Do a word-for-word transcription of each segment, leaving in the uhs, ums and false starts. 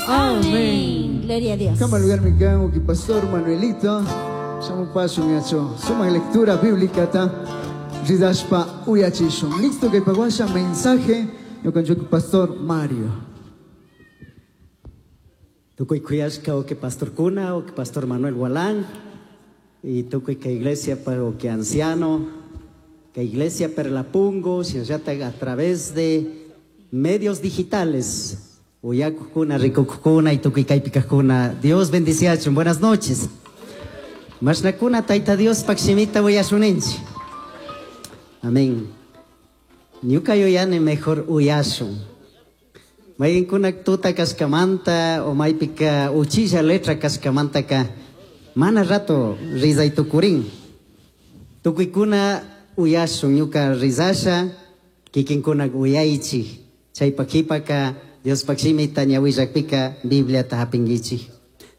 Amén. Gloria a Dios. Kama lugar mi can que pastor Manuelito. Shamu paso miacho. Suma lectura bíblica ta. Ridashpa uyachishun. Listo que paguasha mensaje. Yo con pastor Mario. Tukuy kuyashka o que pastor Cuna o que pastor Manuel Gualán y tukuy que iglesia o que anciano que iglesia Perlapungo a través de medios digitales uyakukuna rikukuna y tukuy kaypikakuna. Dios bendiciachun. Buenas noches. Mashnakuna tayta Dios pakshimita uyashuninchi. Amén. Ñuka yuyani mejor uyashun. Mayqinkuna tuta kashkamanta o maypika uchilla letra kashkamantaka mana rato rizay tukurin. Tukuykuna uyashun ñuka rizasha kikinkuna uyaychik. Chaypa qhipaka Diospaq shimita ñawillakpika Bibliata hapinkichik.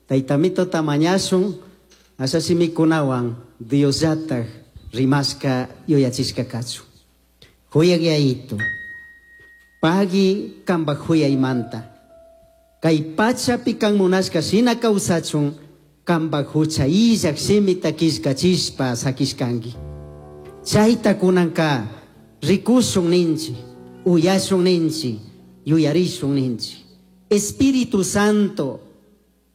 Taytamitota mañashun asha shimikunawan Diosllataj rimashka yuyachishka kachun. Huyaq yayito. Pagui kambaj huyaymanta. Kay pachapi kan munashka shina kawsachun kambaj hucha illak shimita killkachishpa sakishkanki. Chayta kunanka rikushun ninchi, uyashun ninchi, yuyarishun ninchi. Espíritu Santo,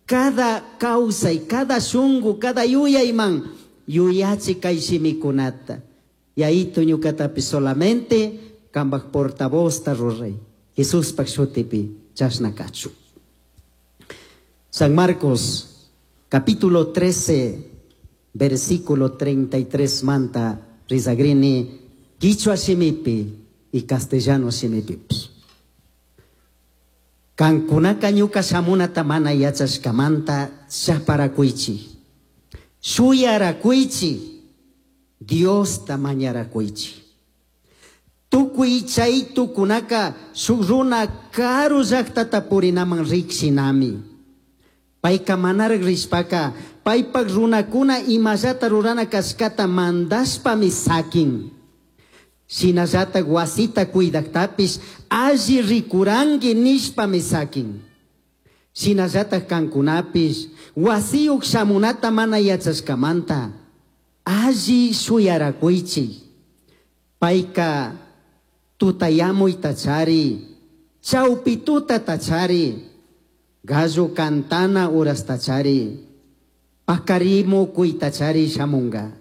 cada kawsay, cada shungu, cada yuyayman yuyachi kay shimikunata. Yayito ñukatapi solamente kambaj portavoz ruray. Jesuspaj shutipi chashna kachu. San Marcos, capítulo trece, versículo treinta y tres manta rizagrini, quichua shimipi y castellano shimipi. Kankunaka ñuka shamunata mana yachashkamanta chaparakuychi. Shuyarakuychi, Diosta mañarakuychi. Tukuy chay tukunaka shuk runa karu llaqtata purinaman riqshinami. Payka manaraq rishpaka paypaq runakuna imallata rurana kashkata mandashpami sakin. Shinallata wasita cuidaqtapish alli rikuranki nishpami sakin. Shinallata kankunapish wasiyuq shamunata mana yachashkamanta alli shuyarakuychik. Payka tutayamuy tachari, chawpi tuta tachari, gallo cantana uras tachari, pakarimukuy tachari shamunga.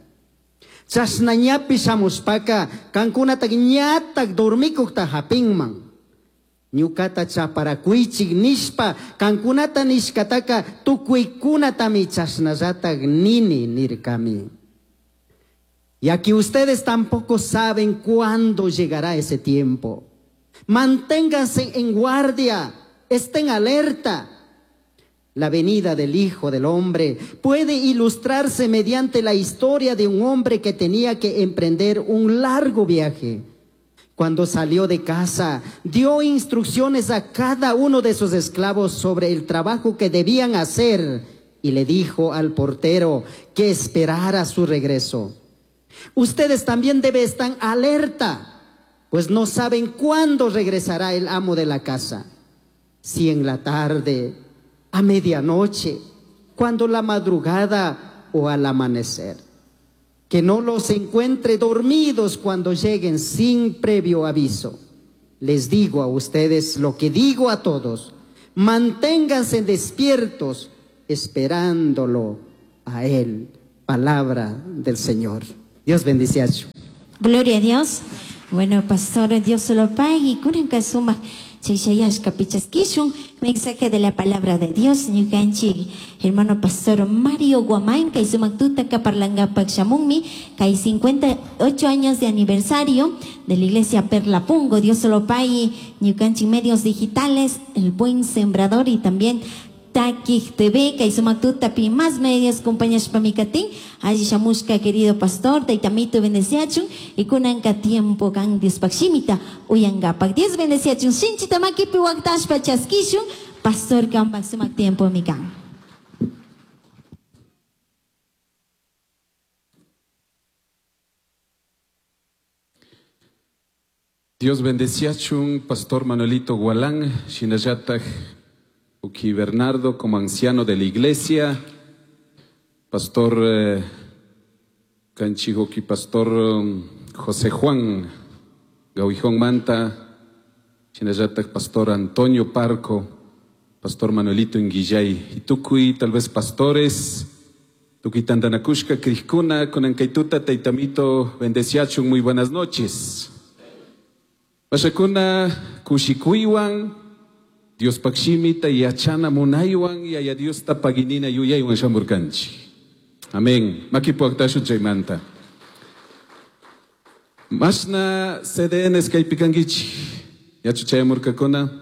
Chashnañapi shamushpaka kankunataq ñataq dormikuqta hapinman. Ñukata chaparakuychik nishpa kankunata nishkataka tukuykunatami chashnallataq nini nirkami. Y aquí ustedes tampoco saben cuándo llegará ese tiempo. Manténganse en guardia, estén alerta. La venida del Hijo del Hombre puede ilustrarse mediante la historia de un hombre que tenía que emprender un largo viaje. Cuando salió de casa, dio instrucciones a cada uno de sus esclavos sobre el trabajo que debían hacer y le dijo al portero que esperara su regreso. Ustedes también deben estar alerta, pues no saben cuándo regresará el amo de la casa. Si en la tarde, a medianoche, cuando la madrugada o al amanecer. Que no los encuentre dormidos cuando lleguen sin previo aviso. Les digo a ustedes lo que digo a todos. Manténganse despiertos esperándolo a Él. Palabra del Señor. Dios bendice a su. Gloria a Dios. Bueno, pastor, Dios se lo pague. Y kunanka sumaq chayshayashka pichaskishun. Mensaje de la palabra de Dios. Ñukanchik, hermano pastor Mario Guamán, kay sumaq tutaka parlangapak shamunmi, kay cincuenta y ocho años de aniversario de la iglesia Perlapungo. Dios se lo pague. Ñukanchik medios digitales, El Buen Sembrador y también Takik T V, kay sumaq tutapi más medios, compañeros pamikatin, allí shamushka, querido pastor, taytamito bendeciachun, y kunanka tiempo kan Diospaq shimita uyangapak. Dios bendeciachun, sinchita makipi waqtashpa chaskishun, pastor kanpak sumaq tiempo mikan. Dios bendeciachun, pastor Manuelito Gualán, shinallataj Uki Bernardo como anciano de la iglesia, Pastor eh, Canchijoki, Pastor um, José Juan Gauijón Manta, Chinayatak Pastor Antonio Parco, Pastor Manuelito Inguillay, y tukuy, tal vez pastores, tukuy tandanakushka, Crijkuna, kunankaituta, Taitamito, bendeciachun, muy buenas noches. Pashakuna, kushikuywan, Dios pakshimita yachana munaywan, yaya Dios tapaginina yuyaywan shamurkanchi. Amén. Makipu aktashun chaymanta. Mashna C D Ns kaypikankichik. Yachu chayamurkakuna.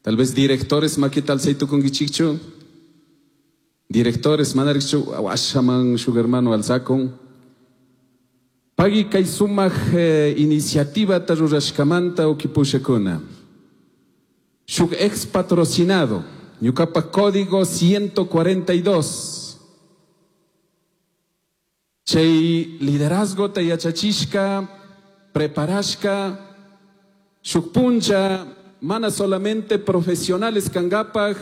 Tal vez directores makita alzaytukunkichikchu. Directores manarikchu washaman shuk hermano alzakun. Pagui kay sumak eh, iniciativa rurashkamanta ukipushakuna. Shuk ex patrocinado. Ñukapa código ciento cuarenta y dos. Chay liderazgo ta yachachishka, preparashka, shuk puncha, mana solamente profesionales kangapaj,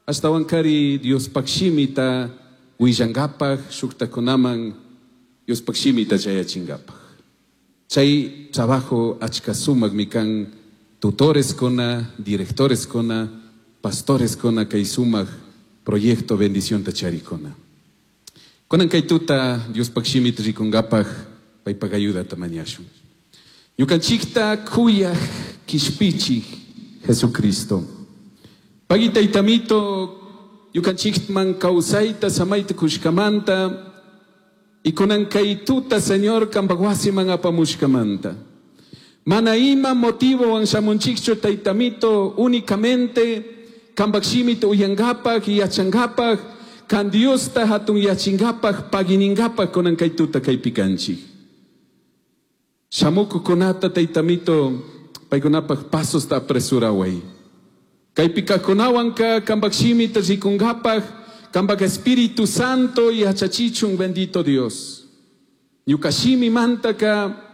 ashtawankari Diospaj shimita willangapaj, shuktakunaman Diospaj shimita chayachingapaj. Chay trabajo achka sumakmi kan tutores kuna, directores kuna, pastores kuna kay sumak proyecto bendición ta charikuna. Kunan kay tuta Diospaj shimita rikungapaj paypaj ayudata mañashun. Ñukanchikta kuyaj kishpichij Jesucristo. Pagui taytamito ñukanchikman kawsayta samayta kushkamanta y kunan kay tuta, Señor, kambaj wasiman apamushkamanta. Mana ima motivo shamunchikchu, taytamito, únicamente kambaj shimita uyangapak y yachangapak kan Diosta hatun yachingapak paginingapaj kunan kay tuta kaypi kanchik. Shamukukunata, taytamito, paykunapaj pasosta apresuraway. Kaypi kajkunawanka kambaj shimita rikungapaj kambaj Espíritu Santo yachachichun, bendito Dios. Ñuka shimimantaka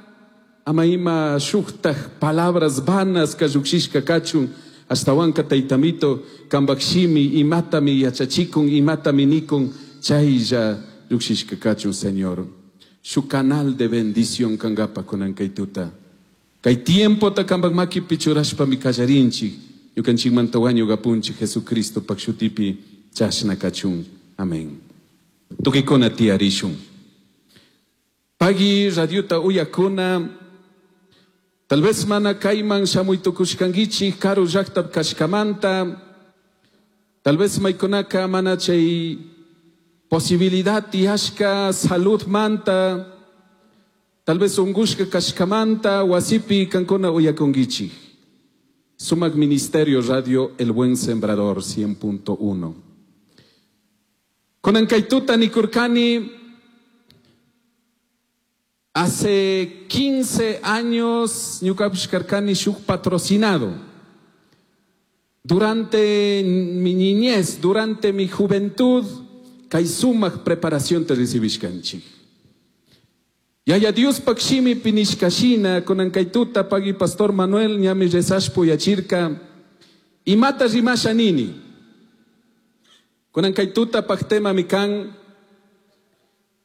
ama ima shuktaj palabras vanas llukshishka kachun, ashtawanka, taytamito, kambaj shimi imatami yachachikun, imatami nikun, chaylla llukshishka kachun, Señor. Shuk canal de bendición kangapa kunan kay tuta. Kay tiempo ta kambaj makipi churashpami kallarinchik. Ñukanchikmanta wañuk apunchik Jesucristo pak shutipi chashna kachun. Amén. Tukikuna tiyarishun. Pagui radiota uyakuna. Tal vez mana kayman shamuy tukushkankichik karu llaqta kashkamanta. Tal vez maykunaka mana chay posibilidad tiyashka salud manta. Tal vez ungushka kashkamanta wasipi kankuna uyakunkichik. Sumak Ministerio Radio El Buen Sembrador cien punto uno. Kunan kaytuta nikurkani, hace quince años ñukapish karkani shuk patrocinado. Durante mi niñez, durante mi juventud, kay sumak preparación ta recibishkanchik. Yaya Diospaj shimipi nishka shina, kunan kay tuta pagui pastor Manuel ñami rezashpa uyachirka, imata rimasha nini. Kunan kay tuta paj tema mi kan,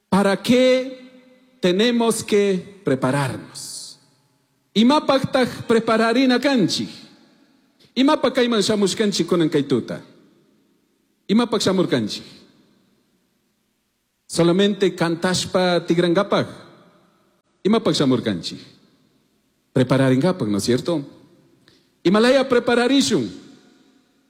¿para qué tenemos que prepararnos? Imapajtaj prepararina kanchik? Imapaj kayman shamushkanchik kunan kay tuta? Imapaj shamurkanchik? Solamente kantashpa tigrangapaj. Imapaj shamurkanchik? Prepararingapaj, ¿no es cierto? Imalaya prepararishun.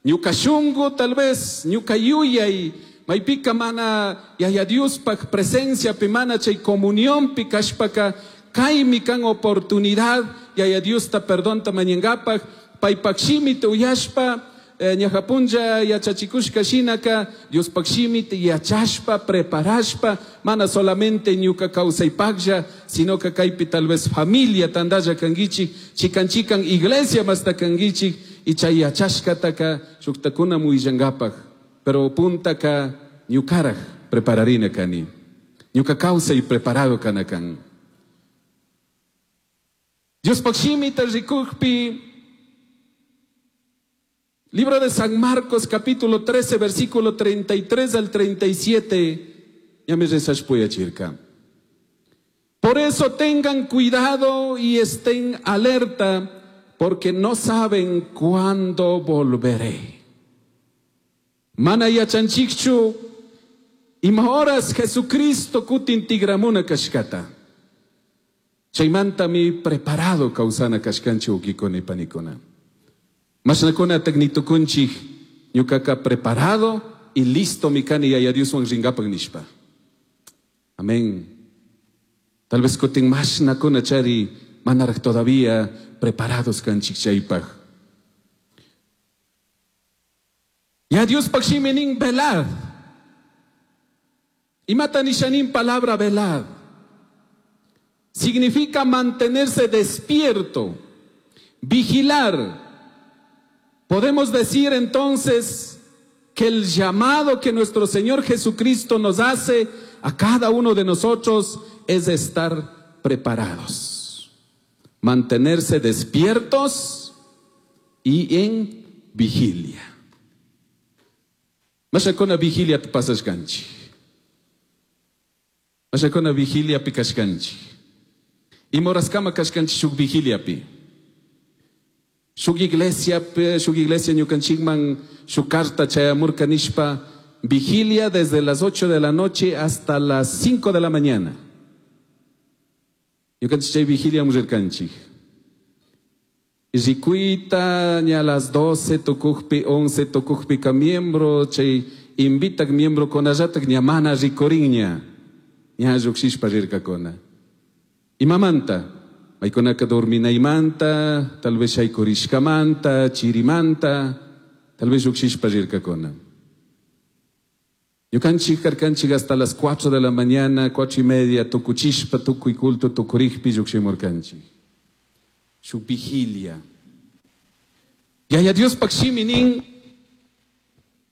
Ñuka shungu tal vez, ñuka yuyay, maypika mana yaya Diospaj presencia pi mana chay comunión pi kashpaka, kaymi kan oportunidad yaya Diosta perdonta mañangapaj, paypak shimita uyashpa, eh, ñajapunlla yachachikushka shinaka, Diospaj shimita yachashpa, preparashpa, mana solamente ñuka kawsaypaklla, sino que kaypi tal vez familia tandalla kankichik, chikan chikan iglesia masta kankichik, y chay yachashkataka shuktakuna willangapak, pero puntaka ñukaraj prepararina kani. Ñuka kawsay preparado kana kan. Diospaj shimita rikukpi, Libro de San Marcos, capítulo trece, versículo treinta y tres al treinta y siete. Ya me rezas chirca. Por eso tengan cuidado y estén alerta, porque no saben cuándo volveré. Mana yachanchikchu, ima horas Jesucristo kutin tigramuna kashkata. Chaymantami preparado kawsana kashkanchik wawkikuna y panikuna. Mashnakuna nitukunchik ñukaka preparado y listo mi kani Yaya Dioswan rinkapak nishpa. Amén. Tal vez kutin mashnakuna chari manaraj todavía preparados kanchik chaypaj. Ya Dios pakshiminin velad. Imata nishanin palabra velad. Significa mantenerse despierto, vigilar. Podemos decir entonces que el llamado que nuestro Señor Jesucristo nos hace a cada uno de nosotros es estar preparados, mantenerse despiertos y en vigilia. Mashakuna vigilia pasashkanchik. Mashakuna vigilia pikashkanchik. Imorascama kashkanchik shuk vigilia pi. Shuk iglesia pe, shuk iglesia ñukanchikman shuk carta chayamurka nishpa vigilia desde las ocho de la noche hasta las cinco de la mañana. Ñukanchik chay vigilia murirkanchik. Rikuita ña las doce tukukpi, once tukukpi ka miembro, chay invitak miembro konallatak ña mana rikurinña. Ña llukshishpa rirkakuna. Imamanta, maykunaka dorminaymanta, tal vez shaykurishkamanta, chirimanta, tal vez llukshishpa rirkakuna. Ñukanchik karkanchik hasta las cuatro de la mañana, cuatro y media, tukuchishpa, tukuy culto, tukurikpi llukshimurkanchik. Shuk vigilia. Yaya Dios pakshiminin,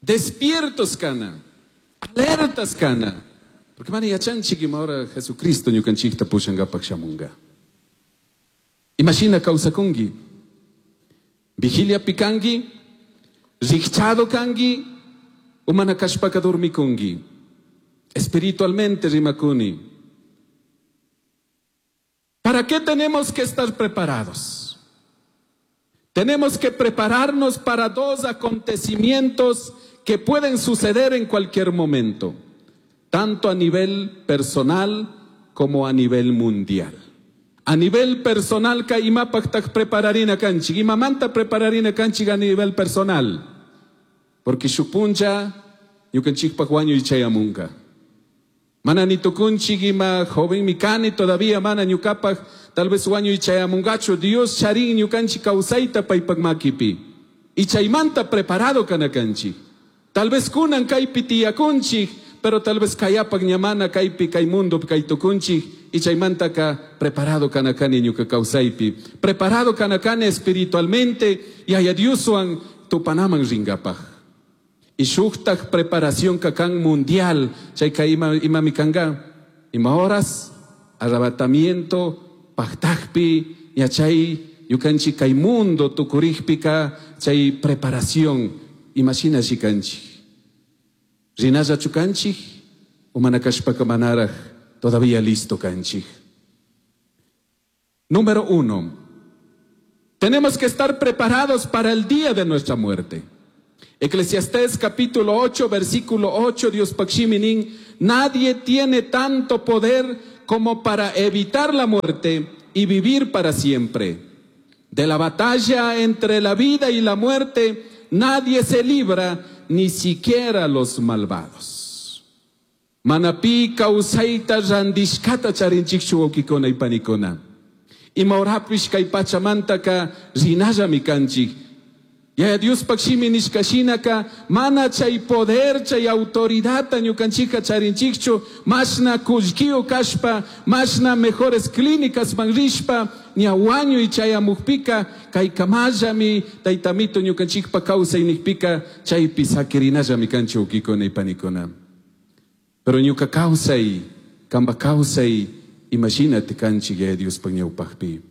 despiertos kana, alertas kana. Porque mana yachanchik ima hora Jesucristo ñukanchikta pushangapak shamunga. Imagina kawsakunki. Vigilia pikanki, rikchado kanki, umana kashpaka dormikunki. Espiritualmente rimakuni. ¿Para qué tenemos que estar preparados? Tenemos que prepararnos para dos acontecimientos que pueden suceder en cualquier momento, tanto a nivel personal como a nivel mundial. A nivel personal, ka imapaq prepararina kanchik, imamanta prepararina kanchik a nivel personal. Porque shupuncha, ñukanchikpaq wañuy chayamunka. Mana ni tukunchik ima joven mi kani todavía mana ñukapaq tal vez wañuy chayamungachu. Dios charin ñukanchik kawsayta paypaq makipi. Y chaymanta preparado kanakanchik. Tal vez kunan kaypi tiyakunchik, pero tal vez kayapaq ñamana kaypi kay mundo kay tukunchik. Y chaymanta ka preparado kanakani ñuka kawsaypi. Preparado kanakani espiritualmente y haya Dioswan tupanaman ringapaq. Y shuktak preparación kakan mundial, chayka ima, ima mikanga, ima horas, arrebatamiento, paktakpi, yachay, yukanchi kay mundo tukurikpika, chay preparación, imagina shikanchi. Rinalla chukanchi, umanakashpaka manaraj, todavía listo kanchi. Número uno, tenemos que estar preparados para el día de nuestra muerte. Eclesiastés capítulo ocho, versículo ocho, Dios pakshiminin, nadie tiene tanto poder como para evitar la muerte y vivir para siempre. De la batalla entre la vida y la muerte, nadie se libra, ni siquiera los malvados. Manapi kawsayta randishkata charinchikchu wawkikuna y panikuna. Imaurapish kay pachamantaka rinallami kanchik. Ya Dios pakshimi nishkashinaka mana chay poder chay autoridad ñukanchika charinchikchu mashna kullkiyo kashpa mashna mejores clínicas manrishpa ñawañuy chayamukpika kay kamallami taytamito ñukanchikpa kawsay nikpika chaypi sakirinallami kanchik wawkikuna y panikuna. Pero ñuka kawsay kamba kawsay imagínate kanchik ya Dios ñawpaqpi.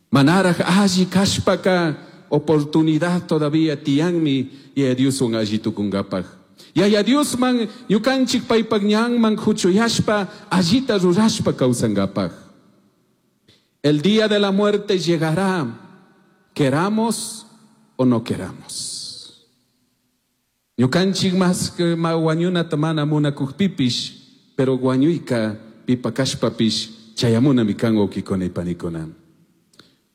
Manaraj alli kashpaka oportunidad todavía tiyanmi Yaya Dioswan alli tukunkapaj. Yaya Diosman ñukanchik paypak ñanman huchuyashpa allita rurashpa kawsankapaj. El día de la muerte llegará, queramos o no queramos. Ñukanchik mas que ma wañunata mana munakukpipish, pero wañuyka pipakashpapish chayamunami kan wawkikuna y panikuna.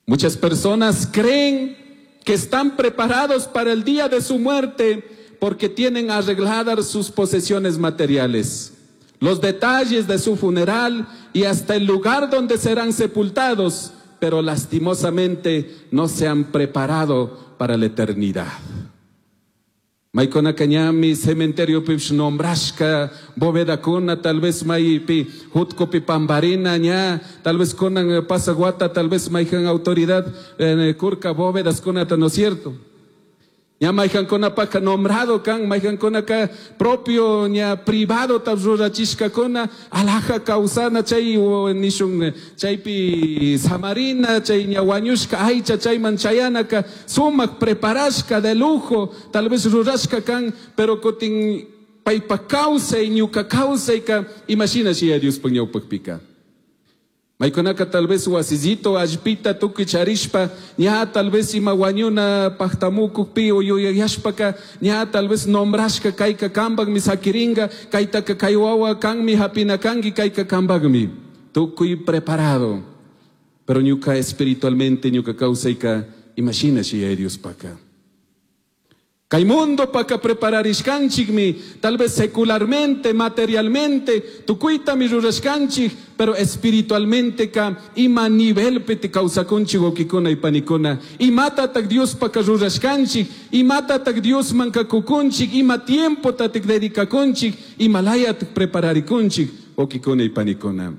Muchas personas creen que están preparados para el día de su muerte porque tienen arregladas sus posesiones materiales, los detalles de su funeral y hasta el lugar donde serán sepultados, pero lastimosamente no se han preparado para la eternidad. Maykunaka ñami cementerio pish nombrashka bovedakuna, tal vez maypi jutkupi pambarina ña, tal vez kunan pasaguata, tal vez mayjan autoridad eh, kurka bóvedas kunata, ¿no es cierto? Ña mayjankunapaka nombrado kan, mayjankunaka propio ña privado ta rurachishkakuna, alhaja kawsana chay nishun chaypi samarina, chay ña wañushka aycha chayman chayanaka, sumak preparashka de lujo, tal vez rurashka kan, pero kutin paypa kawsay, ñuka kawsayka, imagina si ya Diospaj ñawpakpika. Maykunaka tal vez wasillito allpita tukuy charishpa, ña tal vez ima wañuna pajtamukukpi o yuyayashpaka, ña tal vez nombrashka kayka kambakmi sakiringa, kaytaka kay wawa kanmi hapina kanki kayka kambakmi. Tukuy preparado. Pero ñuka espiritualmente ñuka kawsayka, imagina si ya Diospaka. Kay mundo paka prepararishkanchikmi, tal vez secularmente, materialmente, tukuytami rurashkanchik, pero espiritualmente ka ima nivelpi te kawsakunchik wawkikuna y panikuna. Imatatak Dios paka rurashkanchik, imatatak Dios mankakukunchik, ima tiempo tatik dedicakunchik, imalayatak prepararikunchik wawkikuna y panikuna.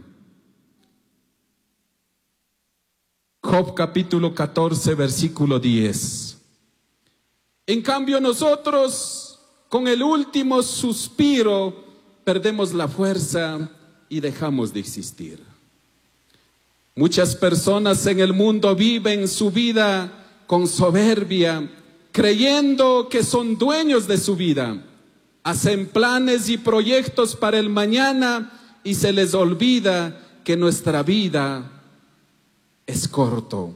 Job capítulo catorce, versículo diez. En cambio nosotros, con el último suspiro, perdemos la fuerza y dejamos de existir. Muchas personas en el mundo viven su vida con soberbia, creyendo que son dueños de su vida. Hacen planes y proyectos para el mañana y se les olvida que nuestra vida es corto,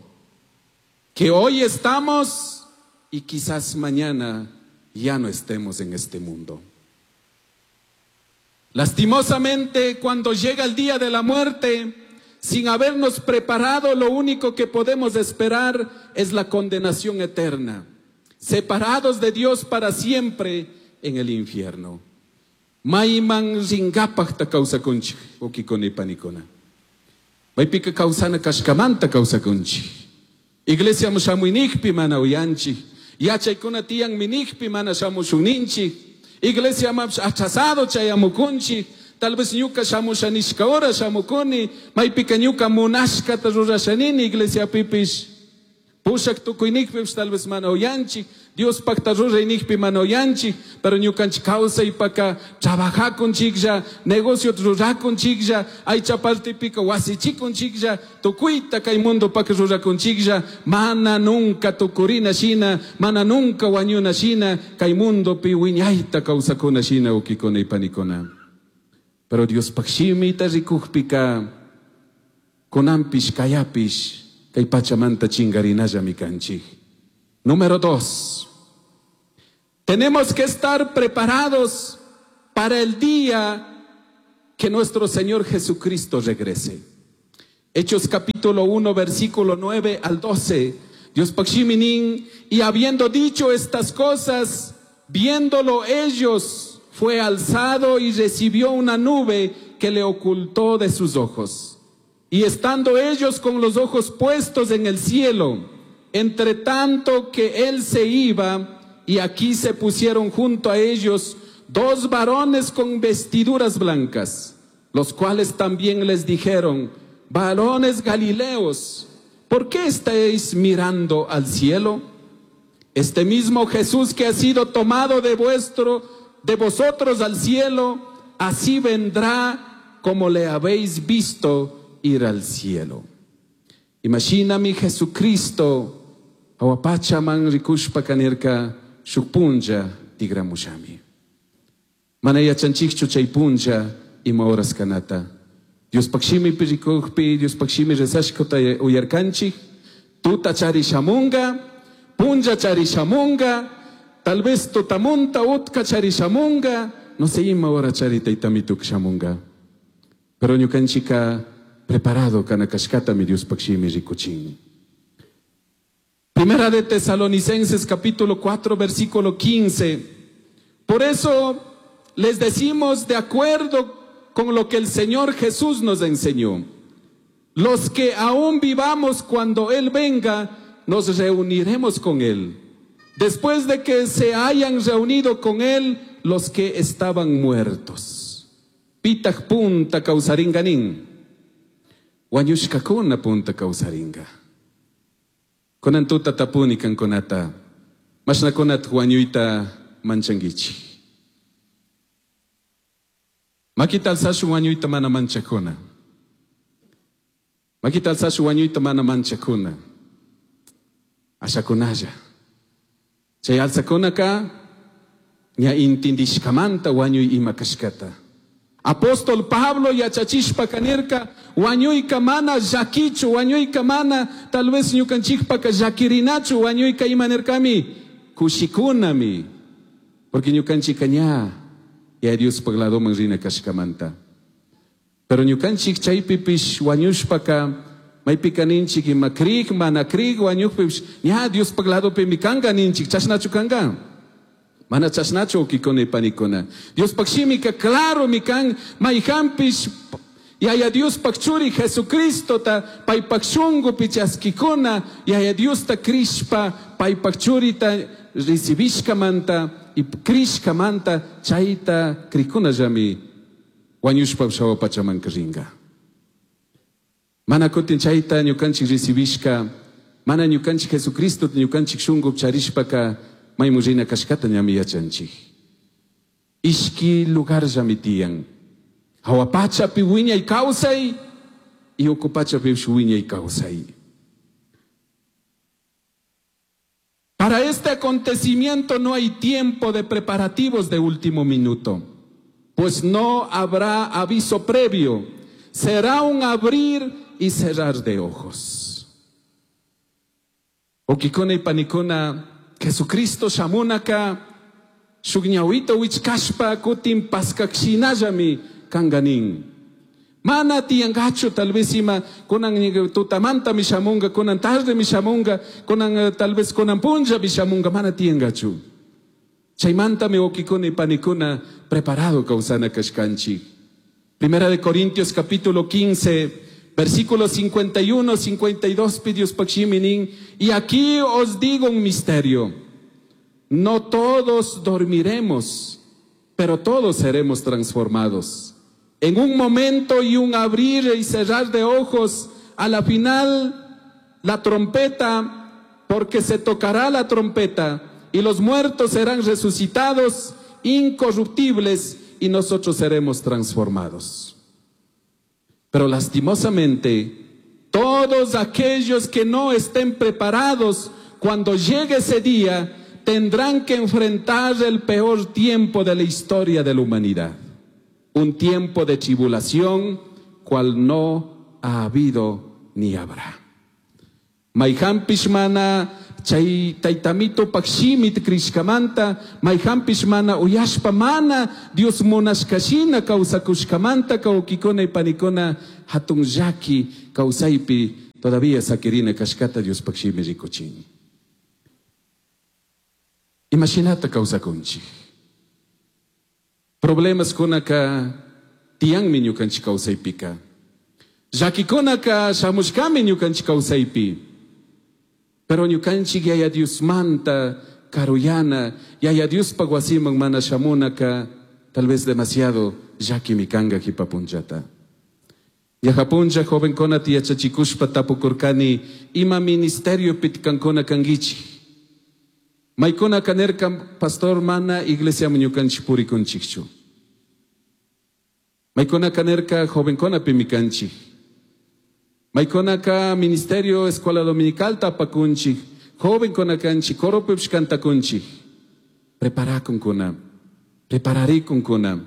que hoy estamos y quizás mañana ya no estemos en este mundo. Lastimosamente, cuando llega el día de la muerte, sin habernos preparado, lo único que podemos esperar es la condenación eterna, separados de Dios para siempre en el infierno. Mayman ringapaj ta kawsakunchik, wawkikuna y panikuna. Maypika kawsana kashkamanta kawsakunchik. Iglesia shamuinikpi mana uyanchik. Yachaykuna tiyan minikpi mana shamushunninchik. Iglesia mapsh achasado chayamukunchik. Tal vez ñuka shamushanishka hora shamukuni. Maypika ñuka munashkata rurashanini iglesia pipish. Pushak tukuynikpish tal vez mana uyanchik. Dios pakta ruraynikpi mana uyanchik. Pero ñukanchik kawsaypaka trabajakunchiklla, negocio rurakunchiklla, aycha partipika wasichikunchiklla, tukuyta kay mundo paka rurakunchiklla, mana nunca tukurina shina, mana nunca wañuna shina, kay mundopi wiñayta kawsakuna shina wawkikuna y panikuna. Pero Dios pakshimita rikukpika, kunanpish kayapish, kay pachamanta chingarinallami kanchik. Número dos, tenemos que estar preparados para el día que nuestro Señor Jesucristo regrese. Hechos capítulo uno, versículo nueve al doce. Dios pakshiminin, y habiendo dicho estas cosas, viéndolo ellos, fue alzado y recibió una nube que le ocultó de sus ojos. Y estando ellos con los ojos puestos en el cielo, entre tanto que él se iba, y aquí se pusieron junto a ellos dos varones con vestiduras blancas, los cuales también les dijeron: varones galileos, ¿por qué estáis mirando al cielo? Este mismo Jesús que ha sido tomado de vuestro, de vosotros al cielo, así vendrá como le habéis visto ir al cielo. Imagíname Jesucristo Hawa pachaman rikushpa nirka shuk punlla tigramushami. Mana yachanchikchu chay punlla ima horas kanata. Diospaj shimipi rikukpi, Diospaj shimi rezashkata uyarkanchik, tuta chari shamunga, punlla chari shamunga, tal vez tutamunta utka chari shamunga, no sé ima hora chari taytamituk shamunga. Pero ñukanchika preparado kana kashkata mi Diospaj shimi rikuchin. Primera de Tesalonicenses capítulo cuatro versículo quince. Por eso les decimos de acuerdo con lo que el Señor Jesús nos enseñó. Los que aún vivamos cuando Él venga, nos reuniremos con Él. Después de que se hayan reunido con Él los que estaban muertos. Pitaj punta kawsaringa nin. Wañushkakuna punta kawsaringa. Kunan tuta tapuni kankunata. Mashnakunat wañuyta manchanguichi. Makita alzashu wañuyta mana manchakuna. Makita alzashu wañuyta mana manchakuna. Ashakunalla. Chay alzakunaka ña intindishkamanta wañuy ima kashkata. Apóstol Pablo yachachishpa kanirka wañuyka mana llakichu, wañuyka mana tal vez ñukanchikpaka llakirinachu, wañuyka ima nirkami kushikunami, porque ñukanchika ña ya Diospaj ladoman rina kashkamanta. Pero ñukanchik chaypipish wañushpaka maypika ninchik ima krik mana krik wañukpipish ña Diospaj ladopimi kanka ninchik, chashnachu kanka. Mana chashnachu wawkikuna y panikuna. Diospaj shimika claro mi kan mayhanpish Yaya Diospaj churi Jesucristota paypaj shungupi chaskikuna Yaya Diosta krishpa paypaj churita recibishkamanta y krishkamanta chayta krikunallami wañushpa hawa pachaman ringa. Mana kutin chayta ñukanchik recibishka, mana ñukanchik Jesucristo ñukanchik shungupi charishpaka maymu rina kashkata ñami yachanchik. Ishki lugar llami tiyan. Hawa pachapi wiñay kawsay y uku pachapi wiñay kawsay. Para este acontecimiento no hay tiempo de preparativos de último minuto, pues no habrá aviso previo. Será un abrir y cerrar de ojos. Wawkikuna y panikuna, Jesucristo shamunaka shuk ñawita wichkashpa kutin paskakshinallami kanganin. Mana tiyangachu tal vez ima kunan tutamanta mi shamunga, kunan tarde mi shamunga, kunan tal vez kunan punlla mi shamunga, mana tiyangachu. Chaymanta mi wawkikuna y panikuna preparado kawsana kashkanchik. Primera de Corintios capítulo quince, versículos cincuenta y uno, cincuenta y dos, Diospaj shimi nin, y aquí os digo un misterio. No todos dormiremos, pero todos seremos transformados. En un momento y un abrir y cerrar de ojos, a la final la trompeta, porque se tocará la trompeta, y los muertos serán resucitados, incorruptibles, y nosotros seremos transformados. Pero lastimosamente, todos aquellos que no estén preparados cuando llegue ese día, tendrán que enfrentar el peor tiempo de la historia de la humanidad. Un tiempo de tribulación, cual no ha habido ni habrá. Mayhanpish mana chay taytamito pakshimit krishkamanta, mayhanpish mana uyashpa mana Dios munashkashina kawsakushkamanta kawkikuna y panikuna hatun llaki kawsaypi todavía sakirina kashkata Dios pakshimi rikuchin. Imashinata kawsakunchik. Problemas kunaka tiyanmi ñukanchik kawsaypika. Llakikunaka shamushkami ñukanchik kawsaypi. Pero ñukanchik Yaya Diosmanta karuyana, Yaya Diospaj wasiman mana shamunaka, tal vez demasiado llakimi kanga jipapunchata. Yajapuncha jovenkuna yachachikushpa tapukurkani, ima ministerio pitkankuna kangichi. Maykuna kanerka pastor mana iglesia ñukanchik purikunchikchu. Maykuna kanerka jovenkuna pimikanchik. Maykunaka ministerio escuela dominical tapakunchik. Jovenkuna kanchik, coropipish cantakunchik. Preparakunkuna, prepararikunkuna.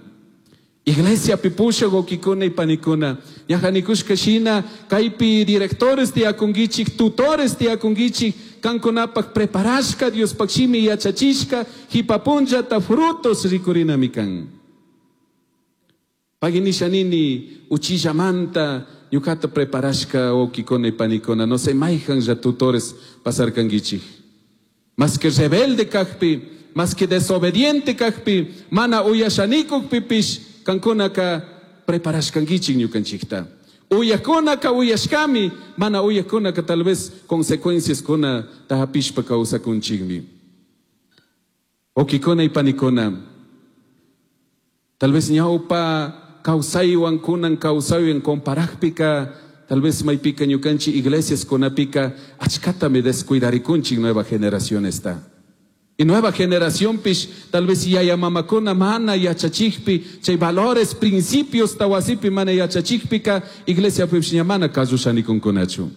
Iglesia pipusha wawkikuna y panikuna. Ñajanikushka shina, kaypi directores tiyakunkichik, tutores tiyakunkichik, kankunapak preparashka, Diospaj shimi yachachishka, jipapunllata frutos rikurinami kan. Paginisha nini, uchillamanta, ñukata preparashka wawkikuna y panikuna, no sé, mayjan tutores pasarkankichik. Más que rebelde kakpi, más que desobediente kakpi, mana uyashanikukpipish, kankunaka preparashkankichik ñukanchikta. Uyakunaka uyashkami, mana uyakunaka tal vez consecuencias kuna tahapishpa kawsakunchikmi. Wawkikuna y panikuna, tal vez ñawpa kawsaywan kunan kawsaywan comparajpika, tal vez maypika ñukanchik iglesias kunapika achkatami descuidarikunchik nueva generación está. Y nueva generación pish, tal vez yaya mamakuna mana yachachikpi, chay valores, principios tawasipi mana yachachikpika, iglesia pish mana kazushanikunkunachu.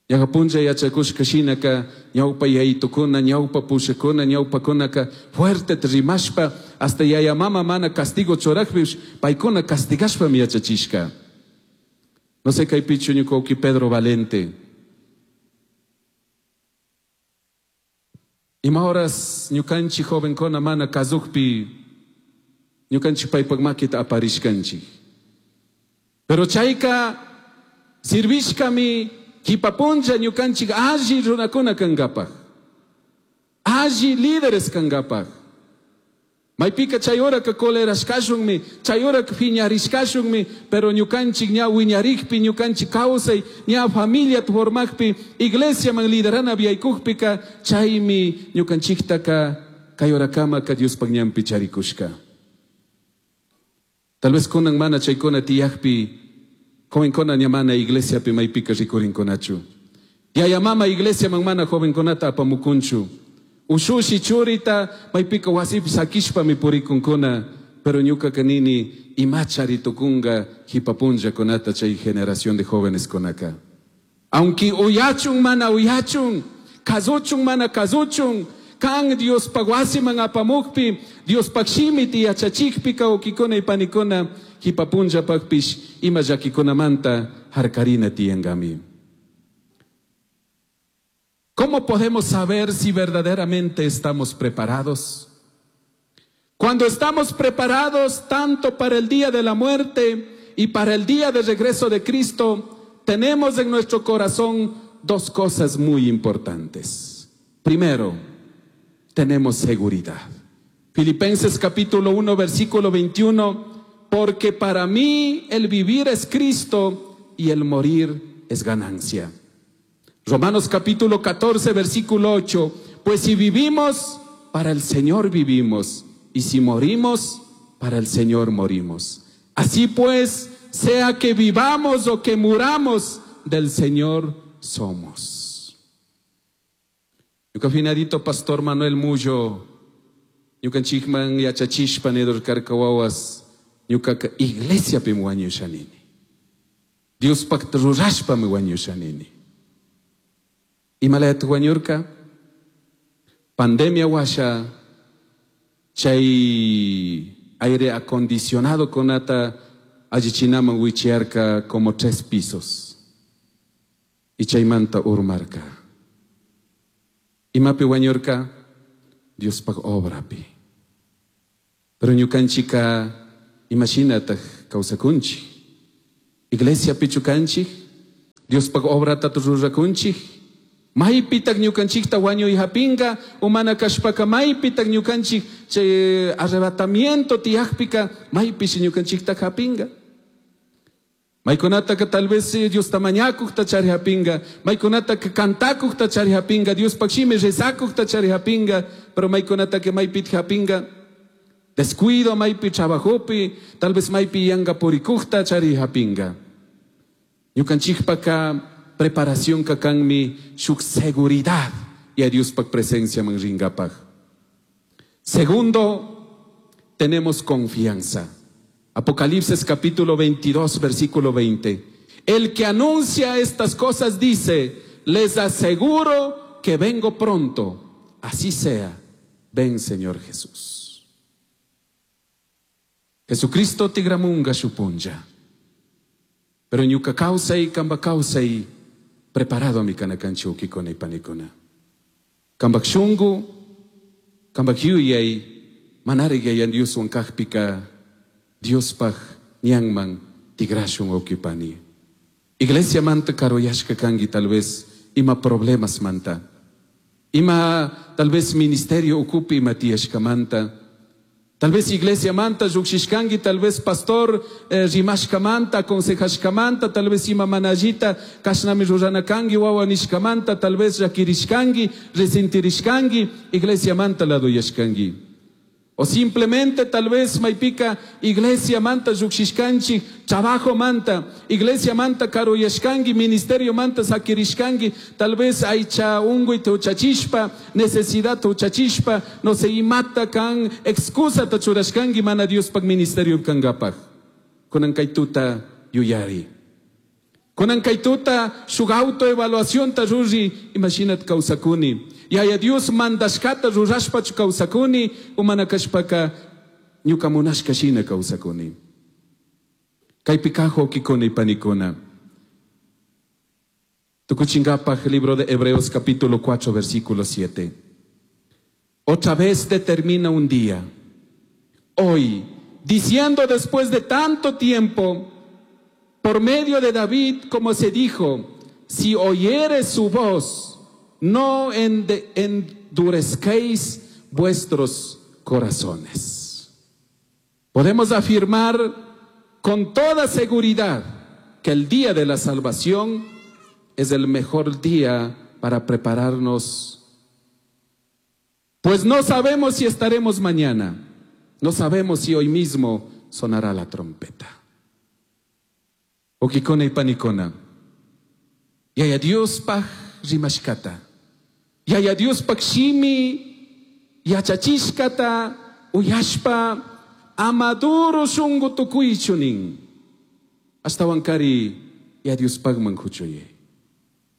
Yajapuncha yachakushka shinaka, ñawpa yaytukuna, ñawpa pushakuna, ñawpa kunaka, fuerte rimashpa, hasta yaya mama mana castigo chorakpish, paykuna castigashpa mi yachachishka. No sé kaypichu ñuka Pedro Valente. Ima horas ñukanchik jovenkuna mana kazukpi, ñukanchik paypak makita aparishkanchik. Pero chayka sirvishkami kipapuncha ñukanchik alli runakuna kankapaj, alli líderes kankapaj. Maypika chay horaka colerashkashunmi, chay horaka piñarishkashunmi, pero ñukanchik ña wiñarikpi, ñukanchik kawsay, ña familia formakpi, iglesiaman liderana viaykukpika, chaymi ñukanchiktaka kay horakamaka Diospaj ñanpi charikushka. Tal vez kunan mana chaykuna tiyakpi, jovenkuna ña mana iglesiapi maypika rikurinkunachu. Yaya mama iglesiaman mana jovenkunata apamukunchu. Ushushi churita maypika wasipi sakishpami purikunkuna, pero ñuka nini imachari tukunga hipapunllakunata chay generación de jóvenes kunaka. Aunque uyachun mana uyachun, kazuchun mana kazuchun, kan Diospaj wasiman apamukpi, Diospaj shimiti yachachikpi kawkikuna y panikuna, hipapunllapakpish ima llakikunamanta harkarina tiyankami. ¿Cómo podemos saber si verdaderamente estamos preparados? Cuando estamos preparados tanto para el día de la muerte y para el día de regreso de Cristo, tenemos en nuestro corazón dos cosas muy importantes. Primero, tenemos seguridad. Filipenses capítulo uno, versículo veintiuno, porque para mí el vivir es Cristo y el morir es ganancia. Romanos capítulo catorce, versículo ocho, pues si vivimos, para el Señor vivimos, y si morimos, para el Señor morimos. Así pues, sea que vivamos o que muramos, del Señor somos. Ñuka pastor Manuel Mullo, ñukanchikman yachachishpa nidurkarka wawas, ñukaka iglesiapim wañushanini. Diospaq rurashpami wañushanini. Imalayat wañurka, pandemia washa, chay aire acondicionado kunata allichinaman wichiarka como tres pisos. Y chaymanta urmarka. Imapi wañurka, Diospaj obrapi. Pero ñukanchika imashinataq kawsakunchik. Iglesia pichukanchik, Diospaj obrata rurakunchik. Maypitaq ñukanchikta wañuy hapinka, umana kashpaka maypitaq ñukanchik chay arrebatamiento tiyaqpika, maypish ñukanchikta hapinka. Maykunataka tal vez Diosta mañakuqta chari hapinka, maykunataka kantakuqta chari hapinka, Diospaq shimi rezakuqta chari hapinka, pero maykunataka maypit hapinka. Descuido maypi trabajopi, tal vez maypi yanka purikuqta chari hapinka. Ñukanchikpaka preparación kakanmi shuk seguridad y a Diospaj presencia man ringapaj. Segundo, tenemos confianza. Apocalipsis capítulo veintidós, versículo veinte. El que anuncia estas cosas dice, Les aseguro que vengo pronto. Así sea. Ven, Señor Jesús. Jesucristo tigramunga shupunlla. Pero ñuka kawsay, kamba kawsay, preparado mi kanakanchi ukikuna y panikuna. Kambak shungu, kambak yuyay, manari yayan Dioswan kajpika, Diospaj ñanman tigrashun ukipani. Iglesia manta karuyashka kangi tal vez ima problemas manta. Ima tal vez ministerio ukupi ima tiyashka manta. Tal vez iglesia manta llukshishkangi, tal vez pastor eh, rimashka manta, aconsejashka manta, tal vez ima manallita kashnami rurana kangi, wawa nishka manta, tal vez llakirishkangi, resentirishkangi, iglesia manta laduyashkangi. O simplemente tal vez maipika iglesia manta llukshishkanchik, trabajo manta, iglesia manta karuyashkangi, ministerio manta sakirishkangi, tal vez aycha unguy tuchachishpa, necesidad tuchachishpa, no se imata kan excusa tachurashkangi mana Diospaj ministerio kangapaj. Kunan kaytuta yuyari. Kunan kaytuta shuk autoevaluación ta ruri, imaginat kawsakuni. Yaya Dios mandashkata rurashpachu kawsakuni, umana kashpaka ñuka munashka shina kawsakuni. Kaypi kajo kikuna y panikuna. Tukuchingapaj, libro de Hebreos capítulo cuatro, versículo siete. Otra vez determina un día, hoy, diciendo después de tanto tiempo, por medio de David, como se dijo, si oyeres su voz, no ende-, endurezcáis vuestros corazones. Podemos afirmar con toda seguridad que el día de la salvación es el mejor día para prepararnos, pues no sabemos si estaremos mañana, no sabemos si hoy mismo sonará la trompeta. Okikona y panikona. Yaya Dios paj rimashkata. Yaya Dios paj shimi yachachishkata uyashpa amaduro shungu tukuychunin. Hasta wankari ya Dios pagman kuchuye.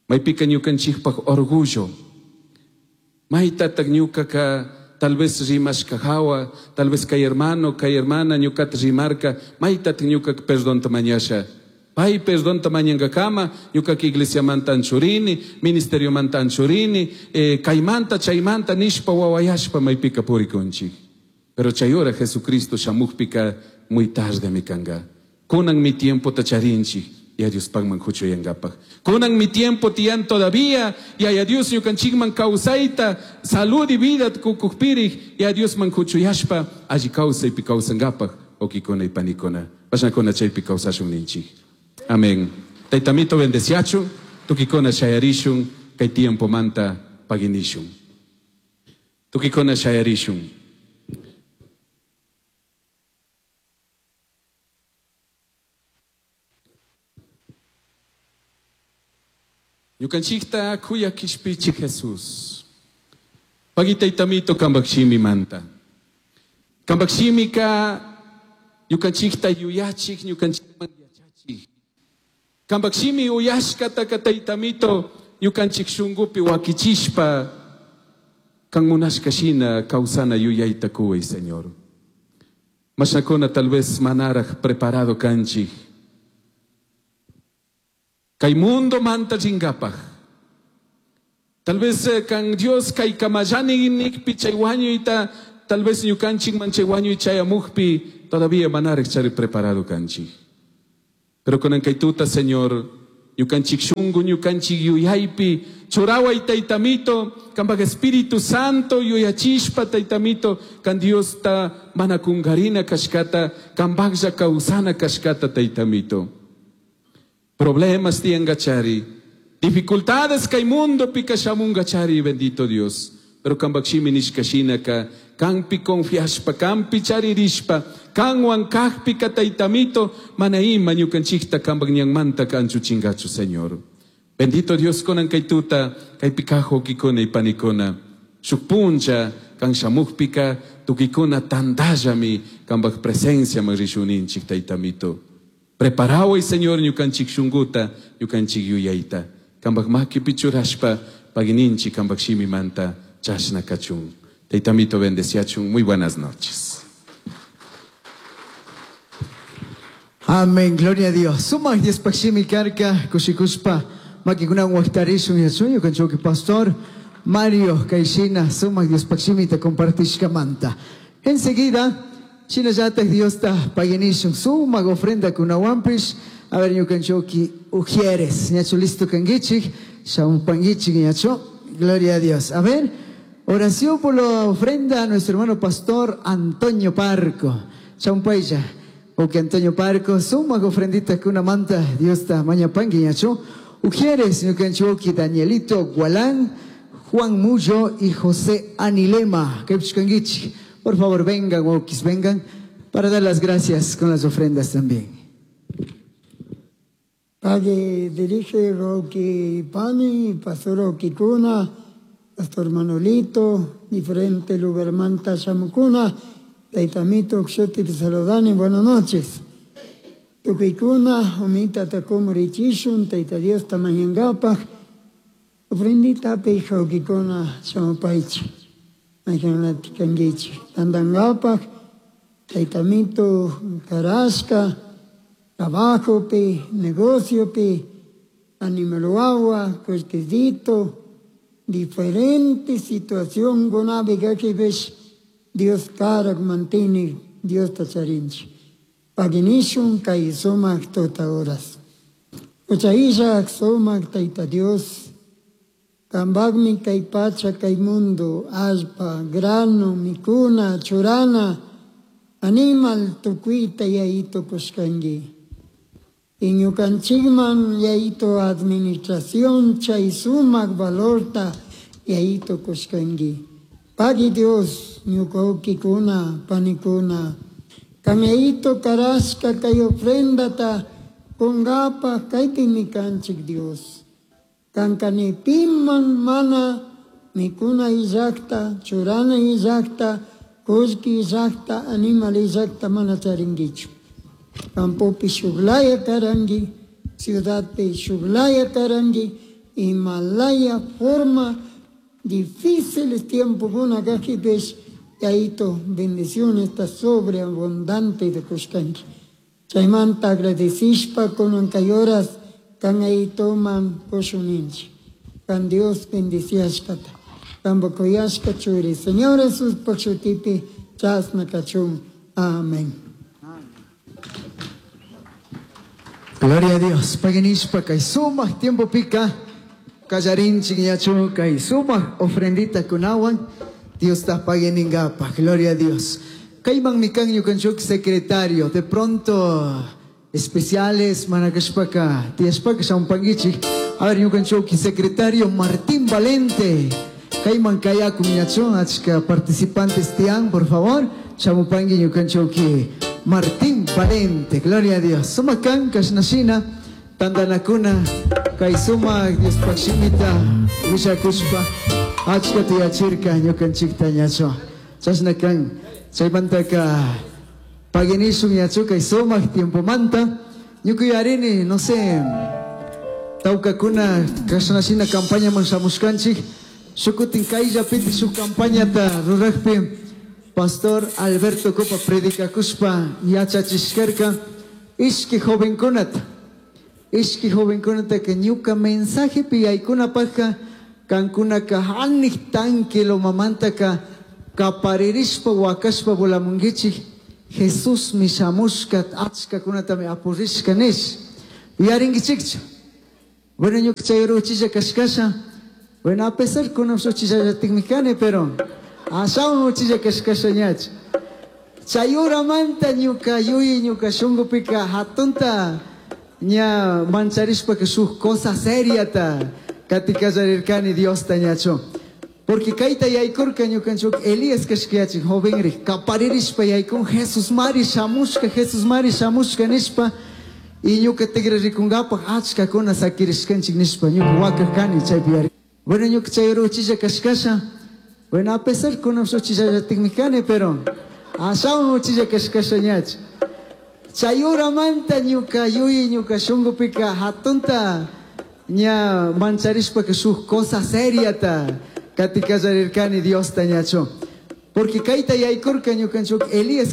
Maypika ñukanchikpaj orgullo. Maytataq ñukaka tal vez rimashka hawa, tal vez kay hermano, kay hermana ñukata rimarka, maytataq ñukaka perdonta mañasha. Pay perdonta mañangakama, ñukaka iglesia manta anchurini, ministerio manta anchurini, eh, kaymanta, chaymanta, nishpa wawayashpa maypika purikunchik. Pero chayora Jesucristo shamukpika muy tarde mi kanga. Kunan mi tiempo tacharinchik, y a Dios pagman huchuyangapaj. Kunan mi tiempo tiyan todavía, y a Dios ñukanchikman kawsayta, salud y vida kukukpirij, y a Dios man huchuyashpa, alli kawsaypi kawsangapaj, okikona y panikona. Pashnakona chaypi kawsashun ninchik. Amén. Taytamito bendeciachu, tukikona shayarishun, kay tiempo manta paginishun. Tukikona shayarishun. Ñukanchikta kuya kishpichi Jesús. Pagi taytamito kambakshimi manta. Kambakshimika ñukanchikta yuyachik, ñukanchikman yachachik. Kambakshimi uyashkataka taytamito ñukanchik shungupi wakichishpa kan munashka shina kawsana yuyayta kuway, Señor. Mashnakuna tal vez manaraj preparado kanchik. Kay mundo manta ringapaj. Tal vez, eh, kan Dios kay kamayani nikpi chay wañuyta, tal vez ñukanchik man chay wañuy chayamujpi, todavía manaraj chari preparado kanchik. Pero con ankaytuta, Señor, ñukanchik shungu, ñukanchik yuyaypi, churaway taytamito, kambaj Espíritu Santo yuyachishpa taytamito, kan Dios ta manakungarina kashkata, kambajlla kawsana kashkata taytamito. Problemas tiangachari, dificultades kay mundo pikashamungachari, bendito Dios. Pero kambakshimi nishkashinaka, kampi confiashpa, kampi charirishpa, kanwan kajpi kataytamito, manaima ñukanchikta kambak ñanmanta kanchu chingachu, Señor. Bendito Dios konan kaytuta, kaypikajo kikona y panikona. Shukpuncha, kanshamukpika, tukikona tandallami, kambak presencia marishuninchik taytamito. Preparaway, Señor, ñukanchik shunguta, ñukanchik yuyayta. Kambak makipi churashpa pagininchi kambak shimimanta chashna kachun. Teitamito bendeciachun. Muy buenas noches. Amén, gloria a Dios. Sumak Dios pakshimi karka, kushikuspa, makikunan waqtarishun yachun, ñukanchukki pastor Mario Kaishina, sumak Dios pakshimita compartishkamanta. Enseguida, shinallatak Diosta paginishun, sumak ofrenda kunawanpish, a ver ñukanchukki ujieres, ñachu listo kangichik, shamupangichik ñachu, gloria a Dios. A ver, oración por la ofrenda a nuestro hermano pastor Antonio Parco. Shampaya. O que Antonio Parco, suma ofrendita que una manta, Dios está maña pangui ñachu. Ujieres, ñukanchuki, Danielito Gualán, Juan Mullo y José Anilema. Kepchkanguichi. Por favor, vengan, okis, vengan, para dar las gracias con las ofrendas también. Padre, dirige Rocky Pani, Pastor Rocky Cuna, Pastor Manolito, diferente lugar manta Shamucuna, Taitamito, Xoti, Saludani, buenas noches. Tukikuna, Omita, Takomurichishun, Taita Dios, Tamañangapaj, ofrendita, Peija, Okikuna, Shamupaichi, Majanatikangichi, Tandangapaj, Taitamito, Carasca, trabajo pi, negocio pi, animaluagua, cuertecito, diferente situación gunabi gakibesh, Dios karak mantiene, Dios tacharinchi. Paginishun kay sumak tota horas. Uchaisha sumak taita Dios, kambagmi kay pacha kay mundo, allpa, grano, mikuna, churana, animal tukuita yaito kushkangi. Iñukanchikman yaito administración chay sumak valorta yaito kushkangi. Pagi Dios, ñukawkikuna, panikuna, kamaito karashka kay ofrendata kungapa kaypimi kanchik Dios. Kankani piman mana mikuna illakta, churana illakta, kullki illakta, animal illakta mana charinkichu. Campopi shuglaya karangi, ciudadpi shuglaya karangi, Himalaya forma difíciles tiempos kuna kajipesh, yaito bendición está sobreabundante de kushkanki. Chaymanta agradecishpa kunan kay horas kan ayitoman kushuninchi. Kan Dios bendiciashkata. Kan bokoyashka churi. Señor Jesús pakshutipi chasna kachun. Amén. Gloria a Dios. Paginishpa kay sumak tiempo pica. Kallarinchi ñachu kay sumak ofrendita kunawan. Dios ta paginingapa. Gloria a Dios. Kayman mikan ñukanchuk secretario. De pronto especiales manakashpaka. Tiashpaka shampangichik. A ver ñukanchuk secretario Martín Valente. Kayman kayakum ñachu achka participantes tian, por favor. Chamupangi ñukanchuki Martín Valente. Gloria a Dios. Sumakan kashnashina tandanakuna kay sumak Dios pakshimita wishakushpa achka tiyachirka ñukanchikta ñachu. Chashnakan chaymantaka paginishun ñachu kay sumak tiempomanta ñukuyarini no sé tawkakuna kashnashina campañaman shamushkanchik shukutin kayllapiti shuk campañata ruraqpi Pastor Alberto Copa predicakuspa yachachishkarka ishki jovenkunata ishki jovenkunata que ñuka mensajepi yaykunapajka kankunaka hanik tanque lomamantaka kaparirishpa wakashpa volamunkichik Jesús mi shamushka achkakunatami apurishka nish yarinkichikchu. Bueno ñuka chay ruchilla kashkasha. Bueno, a pesar kunan uchilla kani, pero ashawan uchilla kashkasha ñach. Chayuramanta ñuka yuyi ñuka shunqupika hatunta ña mancharishpa que shuk cosa seriata katikallarirkani Diosta ñachu. Porque kayta yaykurka ñukanchuk Elías kashkayachik jovenri kaparirishpa yaykun Jesús mari shamushka Jesús mari shamushka nishpa y ñuka tigrarikunkapaj achkakuna sakirishkanchik nishpa ñuka wakaj kani chaypi yari. Bueno, ñuka chay ruchilla kashkasha. Bueno, a pesar kunan uchilla kani, pero ashawan uchilla kashkasha ñach. Chayuramanta ñuka yuyi ñuka shunqupika hatunta Ña mancharishpaka shuk cosa seriata kati kallarirkani Diosta ñachu. Porque kayta yaykurka ñukanchik Elías.